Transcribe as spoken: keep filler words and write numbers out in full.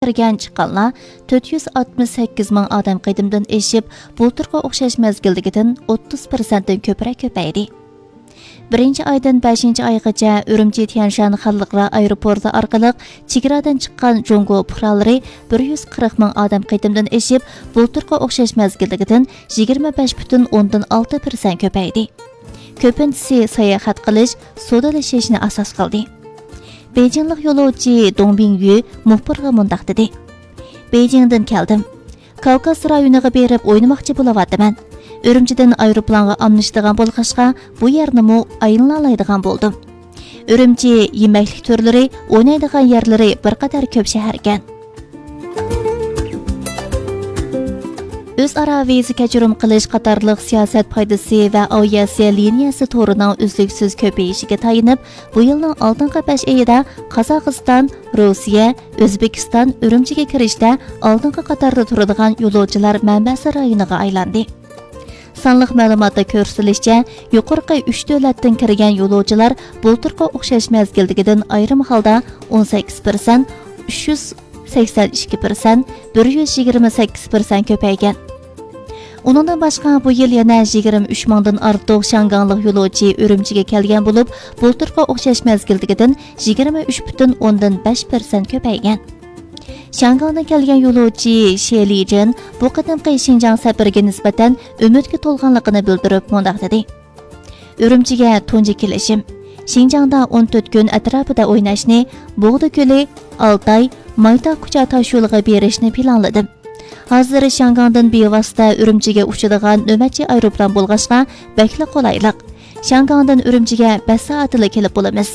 كىرگەن چىققانلار تۆت يۈز ئاتمىش سەككىز مىڭ ئادەم قېتىمدىن ئېشىپ، بۇلتۇرقى ئوخشاش مەزگىلدىكىدىن ئوتتۇز پىرسەنتتىن كۆپرەك كۆپەيدى. بىرىنچى ئايدىن بەشىنچى ئايغىچە ئۈرۈمچى تيەنشان خەلقئارا ئايروپورتى ئارقىلىق چېگرادىن چىققان جۇڭگو پۇقرالىرى بىر يۈز قىرىق مىڭ ئادەم قېتىمدىن ئېشىپ، بۇلتۇرقى ئوخشاش مەزگىلدىكىدىن يىگىرمە بەش پۈتۈن ئوندىن ئالتە پىرسەنت كۆپەيدى. كۆپىنچىسى ساياھەت قىلىش، سودىلىشىشنى ئاساس قىلدى. بېيجىڭلىق يولۇچى دۇڭ بىڭيۈ مۇخبىرغا مۇنداق دېدى: بېيجىڭدىن كەلدىم. كاۋكاز رايونىغا بېرىپ ئوينىماقچى بولۇۋاتىمەن. ئۈرۈمچىدىن ئايروپىلانغا ئاملىشىدىغان بولغاچقا، بۇ يەرنىمۇ ئايلىنالايدىغان بولدۇم. ئۈرۈمچى يېمەكلىك تۈرلىرى، ئوينايدىغان يەرلىرى بىر قەدەر كۆپ شەھەركەن. ئۆزئارا ۋىزا كەچۈرۈم قىلىش قاتارلىق سىياسەت پايدىسى ۋە ئاۋىئاتسىيە لىنىيەسى تورىنىڭ ئۈزلۈكسىز كۆپىيىشىگە تايىنىپ، بۇ يىلنىڭ ئالدىنقى بەش ئېيىدا قازاقىستان، روسىيە، ئۆزبېكىستان ئۈرۈمچىگە كىرىشتە ئالدىنقى قاتاردا تۇرىدىغان يولۇچىلار مەنبەسى رايونىغا ئايلاندى. سانلىق مەلۇماتتا كۆرسىتىلىشىچە، يۇقىرىقى ئۈچ دۆلەتتىن كىرگەن يولۇچىلار بۇلتۇرقى ئوخشاش مەزگىلدىكىدىن ئايرىم ھالدا ئون سەككىز پىرسەنت، ئۈچ يۈز سەكسەن ئىككى پىرسەنت، بىر يۈز يىگىرمە سەككىز پىرسەنت كۆپەيگەن. ئۇنىڭدىن باشقا، بۇ يىل يەنە يىگىرمە ئۈچ مىڭدىن ئارتۇق شياڭگاڭلىق يولۇچى ئۈرۈمچىگە كەلگەن بولۇپ، بۇلتۇرقى ئوخشاش مەزگىلدىكىدىن يىگىرمە ئۈچ پۈتۈن ئوندىن بەش پىرسەنت كۆپەيگەن. شياڭگاڭدىن كەلگەن يولۇچى شې لىجېن بۇ قېتىمقى شىنجاڭ سەپىرىگە نىسبەتەن ئۈمىدكە تولغانلىقىنى بىلدۈرۈپ مۇنداق دېدى: ئۈرۈمچىگە تۇنجى كېلىشىم. شىنجاڭدا ئون تۆت كۈن ئەتراپىدا ئويناشنى، بوغدا كۆلى، ئالتاي، مايتا كۇچا تاشيولىغا بېرىشنى پىلانلىدىم. ھازىر شياڭگاڭدىن بىۋاسىتە ئۈرۈمچىگە ئۇچىدىغان نۆۋەتچى ئايروپىلان بولغاچقا، بەكلا قولايلىق. شياڭگاڭدىن ئۈرۈمچىگە بەش سائەتتىلا كېلىپ بولىمىز.